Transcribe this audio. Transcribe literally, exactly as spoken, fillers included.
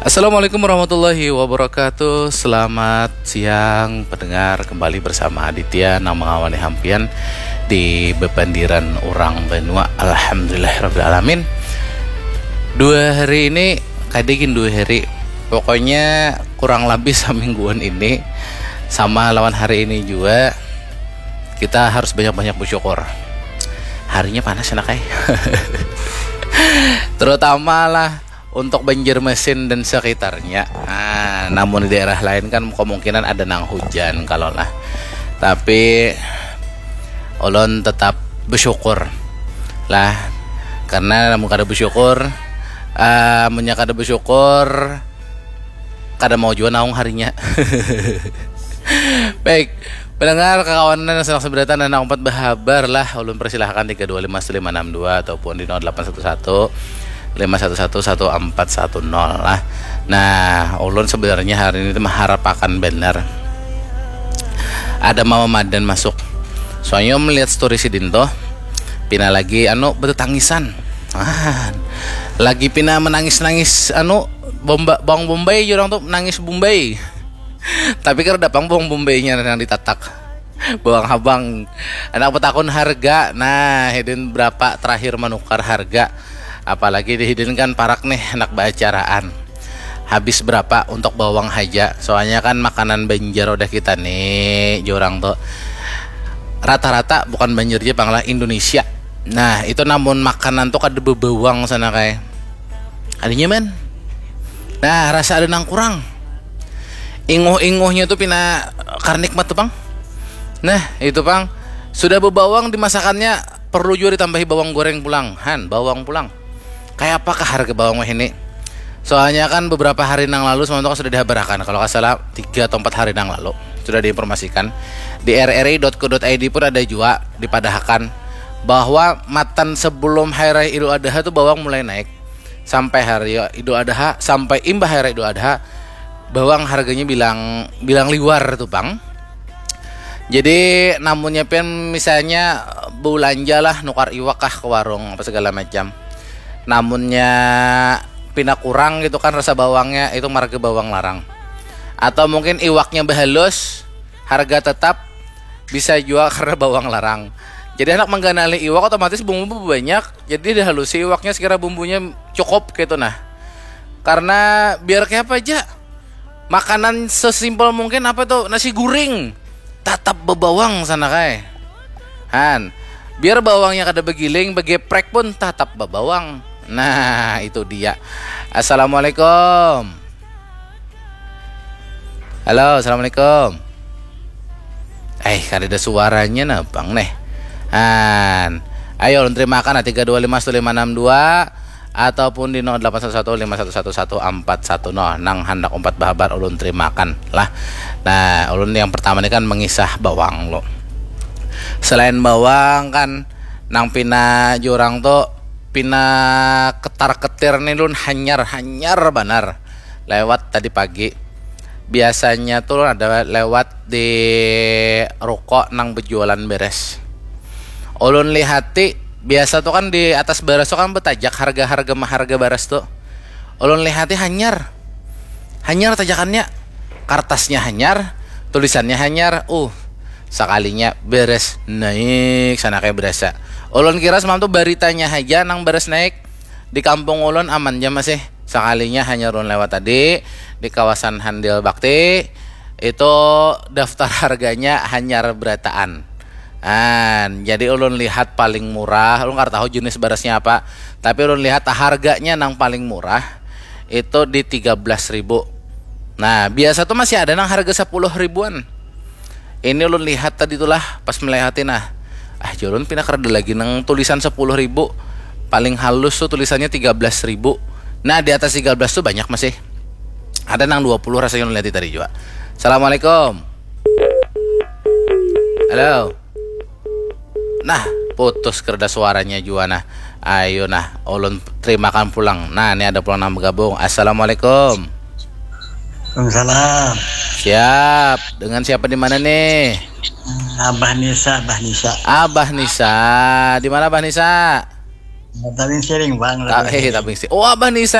Assalamualaikum warahmatullahi wabarakatuh. Selamat siang pendengar, kembali bersama Aditya nang mengawani hampian di bepandiran orang banua. Alhamdulillahirabbil alamin. Dua hari ini, kada gin dua hari, pokoknya kurang lebih samingguan ini, sama lawan hari ini juga, kita harus banyak-banyak bersyukur. Harinya panas, anak ai. Terutama lah untuk Banjarmasin dan sekitarnya. Nah, namun di daerah lain kan kemungkinan ada nang hujan kalau lah. Tapi ulun tetap bersyukur lah, karena namun kada bersyukur, uh, munnya kada bersyukur, kada mau jua naung harinya. Baik, pendengar, kakawanan yang sedang seberatan dan umpat berhabar lah, ulun persilahkan tiga dua lima satu lima enam dua ataupun di nol delapan satu satu lima satu satu satu empat satu nol lah. Nah, ulun sebenarnya hari ini mengharapkan benar ada Mama Madan masuk. Soalnya melihat story sidin tuh, pina lagi anu betetangisan. Ah, lagi pina menangis-nangis anu bomba, bawang bombay, orang tuh nangis bombay. Tapi kada pang bawang bombaynya yang ditatak, bawang habang. Anak betakun harga, nah, hidin berapa terakhir menukar harga? Apalagi di hidin kan parak nih, anak baacaraan. Habis berapa untuk bawang haja? Soalnya kan makanan Banjar udah kita nih, jurang tuh rata-rata bukan Banjar aja pang lah, Indonesia. Nah, itu namun makanan tuh kada bebawang sana kayak. Ada nyaman. Nah, rasa ada nang kurang. Inguh-inguhnya tuh pina karnikmat tuh, pang. Nah, itu pang. Sudah bebawang dimasakannya, perlu juga ditambahi bawang goreng pulang. Han, bawang pulang. Kayak apakah harga bawang wahini? Soalnya kan beberapa hari nang lalu, sementara sudah dihabarakan, kalau nggak salah tiga atau empat hari nang lalu sudah diinformasikan di R R I dot co dot I D pun ada juga dipadahakan bahwa matan sebelum hari raya Idul Adha tuh bawang mulai naik, sampai hari Idul Adha, sampai imbah hari Idul Adha, bawang harganya bilang bilang liwar tuh, pang. Jadi namunnya pian misalnya belanja lah, nukar iwak kah ke warung apa segala macam, namunnya pina kurang gitu kan rasa bawangnya, itu marga bawang larang. Atau mungkin iwaknya bahalus, harga tetap, bisa jua karena bawang larang. Jadi anak mengganali iwak otomatis bumbu banyak, jadi dihalusi iwaknya sekira bumbunya cukup gitu nah. Karena biar kayak apa aja, makanan sesimpel mungkin apa tuh, nasi guring, tatap bebawang sana kai. Han, biar bawangnya kada begiling, begeprek pun tatap bebawang. Nah, itu dia. Assalamualaikum. Halo, assalamualaikum. Eh, kada ada suaranya nah, pang neh. Han, ayo ulun terimakan lah, tiga dua lima satu lima enam dua ataupun di nol delapan satu satu lima satu satu satu empat satu nol. Nang handak umpat bahabar ulun terimakan lah. Nah, ulun yang pertama ni kan mengisah bawang lo. Selain bawang kan, nang pina jurang tu, pina ketar-ketir ni lun hanyar, hanyar banar. Lewat tadi pagi. Biasanya tu lun ada lewat di ruko nang bejualan beres. Ulun lihati, biasa tu kan di atas baras tu kan betajak harga-harga maharga baras tu. Ulun lihati hanyar. Hanyar tajakannya. Kartasnya hanyar, tulisannya hanyar. Uh, sakalinya beres naik sana kayak berasa. Ulun kira semalam tu baritanya haja nang beres naik. Di kampung ulun aman ja masih. Sakalinya hanyar ulun lewat tadi di kawasan Handil Bakti, itu daftar harganya hanyar berataan. An, jadi ulun lihat paling murah, ulun kada tahu jenis berasnya apa, tapi ulun lihat harganya nang paling murah itu di tiga belas ribu. Nah, biasa tuh masih ada nang harga sepuluh ribuan. Ini ulun lihat tadi tuh lah, pas melihati nah. Ah, jar ulun pina kada lagi nang tulisan sepuluh ribu. Paling halus tuh tulisannya tiga belas ribu. Nah, di atas tiga belas tuh banyak masih. Ada nang dua puluh rasanya ulun lihat tadi juga. Assalamualaikum. Halo. Nah, putus kerdas suaranya jua nah. Ayo nah, ulun terimakan pulang. Nah, ini ada pulang nang bergabung. Assalamualaikum. Waalaikumsalam. Siap. Dengan siapa di mana nih? Abah Nisa, Abah Nisa. Abah Nisa. Di mana Abah Nisa? Tabing Siring, Bang. Ta- Tabing eh, Siring. Tabing Siring. Oh, Abah Nisa.